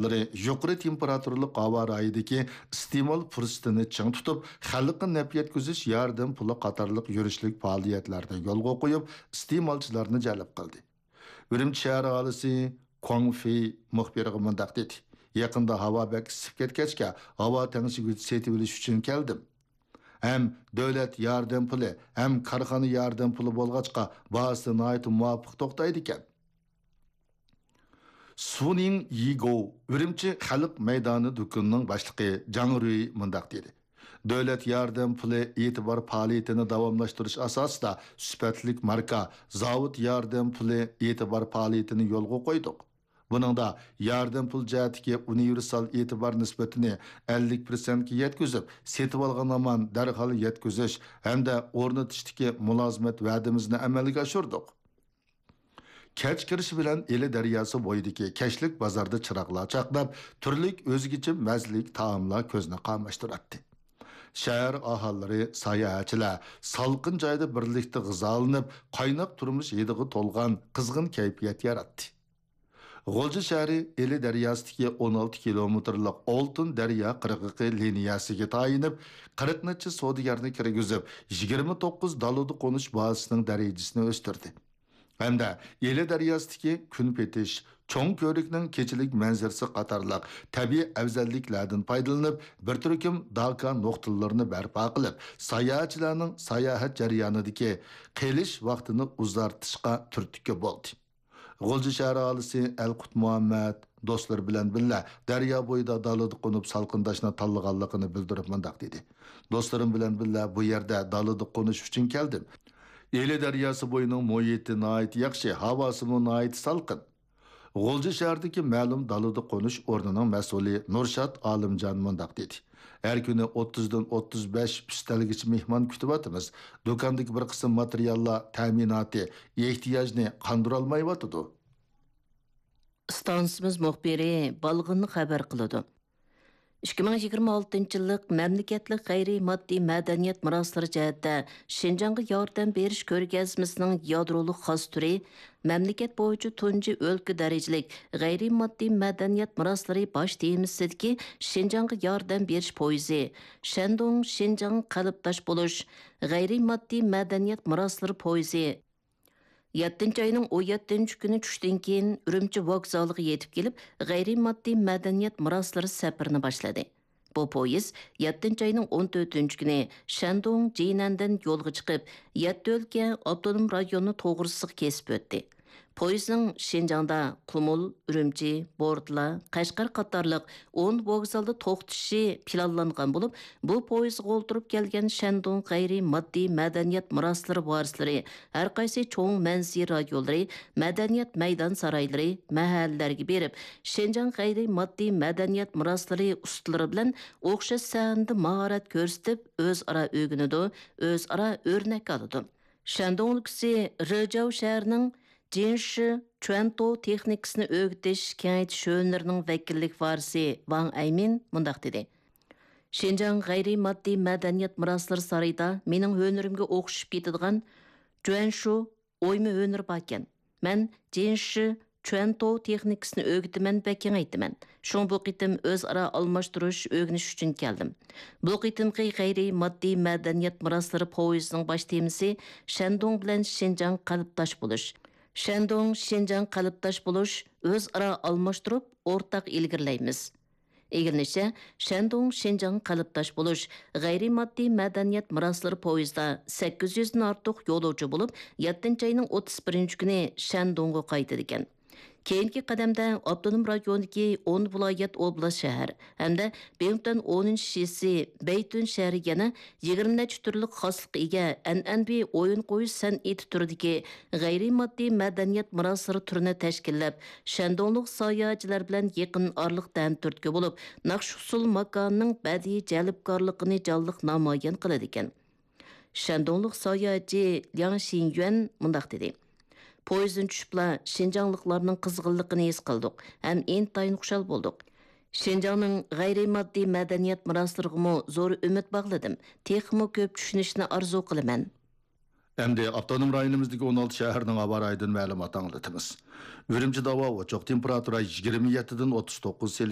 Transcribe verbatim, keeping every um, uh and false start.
ئىشلىرى يۇقىرى تېمپېراتۇرىلىق ھاۋا رايىدىكى ئىستېمال پۇرسىتىنى چىڭ تۇتۇپ، خەلققە نەپ يەتكۈزۈش ياردەم پۇلى قاتارلىق يۈرۈشلۈك پائالىيەتلەرنى يولغا قويۇپ، ئىستېمالچىلارنى جەلپ قىلدى. ئۈرۈمچى شەھەر ئاھالىسى كۇاڭ فېي مۇخبىرىغا مۇنداق دېدى: يېقىندا ھاۋا بەك ئىسسىپ كەتكەچكە، ھاۋا تەڭشىگۈچ سېتىۋېلىش ئۈچۈن كەلدىم. ھەم دۆلەت ياردەم پۇلى، ھەم كارخانا ياردەم پۇلى بولغاچقا، باھاسى ناھايىتى مۇۋاپىق توختايدىكەن. سۇنىڭ يىگو ئۈرۈمچى خەلق مەيدانى دۇكىنىنىڭ باشلىقى جاڭ رۈي مۇنداق دېدى: دۆلەت ياردەم پۇلى ئېتىبار پائالىيىتىنى داۋاملاشتۇرۇش ئاساسىدا سۈپەتلىك ماركا، زاۋۇت ياردەم پۇلى ئېتىبار پائالىيىتىنى يولغا قويدۇق. بۇنىڭدا ياردەم پۇل جەھەتتىكى ئۇنىۋېرسال ئېتىبار نىسبىتىنى ئەللىك پىرسەنتكە يەتكۈزۈپ، سېتىۋالغان ھامان دەرھال يەتكۈزۈش ھەمدە ئورنىتىشتىكى مۇلازىمەت ۋەدىمىزنى ئەمەلگە ئاشۇردۇق. كەچ كىرىشى بىلەن ئىلى دەرياسى بويىدىكى كەچلىك بازاردا چىراغلار چاقناپ، تۈرلۈك ئۆزگىچە مەززىلىك تائاملار كۆزنى قاماشتۇراتتى. شەھەر ئاھالىلىرى، ساياھەتچىلەر سالقىن جايدا بىرلىكتە غىزالىنىپ، قايناق تۇرمۇش ھىدىغا تولغان قىزغىن كەيپىيات ياراتتى. غۇلجا شەھىرى ئىلى دەرياسىدىكى ئون ئالتە كىلومېتىرلىق ئالتۇن دەريا قىرغىقى لىنىيەسىگە تايىنىپ، قىرىق نەچچە سودىگەرنى كىرگۈزۈپ، يىگىرمە توققۇز دالىدا قونۇش بازىسىنىڭ دەرىجىسىنى ئۆستۈردى. ھەمدە ئىلى دەرياسىدىكى كۈن پېتىش، چوڭ كۆۋرۈكنىڭ كېچىلىك مەنزىرىسى قاتارلىق تەبىئىي ئەۋزەللىكلەردىن پايدىلىنىپ، بىر تۈركۈم داكا نۇقتىلىرىنى بەرپا قىلىپ، ساياھەتچىلەرنىڭ ساياھەت جەريانىدىكى قېلىش ۋاقتىنى ئۇزارتىشقا تۈرتكە بولدى. غۇلجا شەھەر ئاھالىسى ئەلقۇت مۇھەممەد دوستلىرى بىلەن بىللە دەريا بويىدا دالىدا قونۇپ سالقىنداشنى تاللىغانلىقىنى بىلدۈرۈپ مۇنداق دېدى: دوستلىرىم بىلەن بىللە بۇ يەردە دالىدا قونۇش ئۈچۈن كەلدىم. ئىلى دەرياسى بويىنىڭ مۇھىتى ناھايىتى ياخشى، ھاۋاسىمۇ ناھايىتى سالقىن. غۇلجا شەھىرىدىكى مەلۇم دالىدا قونۇش ئورنىنىڭ مەسئۇلى نۇرشات ئالىمجان مۇنداق دېدى: ھەر كۈنى ئوتتۇزدىن ئوتتۇز بەش ئۈستەلگىچە مېھمان كۈتۈۋاتىمىز. دۇكاندىكى بىر قىسىم ماتېرىياللار تەمىناتى، ئېھتىياجنى قاندۇرالمايۋاتىدۇ. ئىستانسىمىز مۇخبىرى بالغىن خەۋەر قىلىدۇ. ئىككى مىڭ يىگىرمە ئالتىنچى يىللىق مەملىكەتلىك غەيرىي ماددىي مەدەنىيەت مىراسلىرى جەھەتتە شىنجاڭغا ياردەم بېرىش كۆرگەزمىسىنىڭ يادرولۇق خاس تۈرى، مەملىكەت بويىچە تۇنجى ئۆلكە دەرىجىلىك غەيرىي ماددىي مەدەنىيەت مىراسلىرى باش تېمىسىدىكى شىنجاڭغا ياردەم بېرىش پويىزى، شەندۇڭ شىنجاڭ قەلبداش بولۇش غەيرىي ماددىي مەدەنىيەت مىراسلىرى پويىزى، يەتتىنچى ئاينىڭ ئون يەتتىنچى كۈنى چۈشتىن كېيىن ئۈرۈمچى ۋوگزالىغا يېتىپ كېلىپ، غەيرىي ماددىي مەدەنىيەت مىراسلىرى سەپىرىنى باشلىدى. بۇ پويىز يەتتىنچى ئاينىڭ ئون تۆتىنچى كۈنى شەندۇڭ جىنەندىن يولغا چىقىپ، يەتتە ئۆلكە ئاپتونوم رايوننى توغرىسىغا كېسىپ ئۆتتى. پويىزنىڭ شىنجاڭدا قۇمۇل، ئۈرۈمچى، بورتالا، قەشقەر قاتارلىق ئون ۋوگزالدا توختىشى پىلانلانغان بولۇپ، بۇ پويىزغا ئولتۇرۇپ كەلگەن شەندۇڭ غەيرىي ماددىي مەدەنىيەت مىراسلىرى ۋارىسلىرى ھەرقايسى چوڭ مەنزىرە رايونلىرى، مەدەنىيەت مەيدان سارايلىرى، مەھەللىلەرگە بېرىپ، شىنجاڭ غەيرىي ماددىي مەدەنىيەت مىراسلىرى ئۇستىلىرى بىلەن ئوخشاش سەھنىدە ماھارەت كۆرسىتىپ، ئۆزئارا ئۆگىنىدۇ، ئۆزئارا ئۆرنەك ئالىدۇ. شەندۇڭ ئۆلكىسى رېجاۋ شەھىرىنىڭ جىنشى چۈەنتو تېخنىكىسىنى ئۆگىتىش كېڭەيتىش ئۈنۋېرسىتېتىنىڭ ۋەكىللىك ۋارىسى ۋاڭ ئەيمىن مۇنداق دېدى: شىنجاڭ غەيرىي ماددىي مەدەنىيەت مىراسلىرى سارىيىدا مېنىڭ ھۈنىرىمگە ئوخشىشىپ كېتىدىغان جۈەنشۇ ئويما ھۈنىرى باركەن. مەن جىنشى چۈەنتو تېخنىكىسىنى ئۆگىتىمەن ۋە كېڭەيتىمەن. شۇڭا بۇ قېتىم ئۆزئارا ئالماشتۇرۇش، ئۆگىنىش ئۈچۈن كەلدىم. بۇ قېتىمقى غەيرىي ماددىي مەدەنىيەت مىراسلىرى پويىزىنىڭ باش تېمىسى شەندۇڭ بىلەن شىنجاڭ قەلبداش بولۇش. شەندۇڭ، شىنجاڭ قەلبداش بولۇش، ئۆزئارا ئالماشتۇرۇپ، ئورتاق ئىلگىرىلەيمىز. ئىگىلىنىشىچە، شەندۇڭ، شىنجاڭ قەلبداش بولۇش غەيرىي ماددىي مەدەنىيەت مىراسلىرى پويىزىدا سەككىز يۈزدىن ئارتۇق يولۇچى بولۇپ، يەتتىنچى ئاينىڭ ئوتتۇز بىرىنچى كۈنى شەندۇڭغا قايتىدىكەن. كېيىنكى قەدەمدە ئاپتونوم رايوندىكى ئون ۋىلايەت، ئوبلاست، شەھەر ھەمدە بىڭتۈەن ئونىنچى شىسى بەيتۈن شەھىرىگە يەنە يىگىرمە نەچچە تۈرلۈك خاسلىققا ئىگە ئەنئەنىۋى ئويۇن قويۇش سەنئىتى تۈرىدىكى غەيرىي ماددىي مەدەنىيەت مىراسلىرى تۈرىنى تەشكىللەپ، شەندۇڭلۇق ساياھەتچىلەر بىلەن يېقىن ئارىلىقتا ھەمتۈرتكە بولۇپ، ناخشا-ئۇسسۇل ماكانىنىڭ بەدىئىي جەلپكارلىقىنى جانلىق نامايان قىلىدىكەن. شەندۇڭلۇق ساياھەتچى لياڭ شىنيۈەن مۇنداق دېدى: پويىزدىن چۈشۈپلا شىنجاڭلىقلارنىڭ قىزغىنلىقىنى ھېس قىلدۇق ھەم ئىنتايىن خۇشال بولدۇق. شىنجاڭنىڭ غەيرىي ماددىي مەدەنىيەت مىراسلىرىغىمۇ زور ئۈمىد باغلىدىم، تېخىمۇ كۆپ چۈشىنىشنى ئارزۇ قىلىمەن. ئەمدى ئاپتونوم رايونىمىزدىكى ئون ئالتە شەھەرنىڭ ھاۋا رايىدىن مەلۇمات ئاڭلىتىمىز. ئۈرۈمچىدە ھاۋا ئوچۇق، تېمپېراتۇرا يىگىرمە يەتتىدىن ئوتتۇز توققۇز سېلسىيەس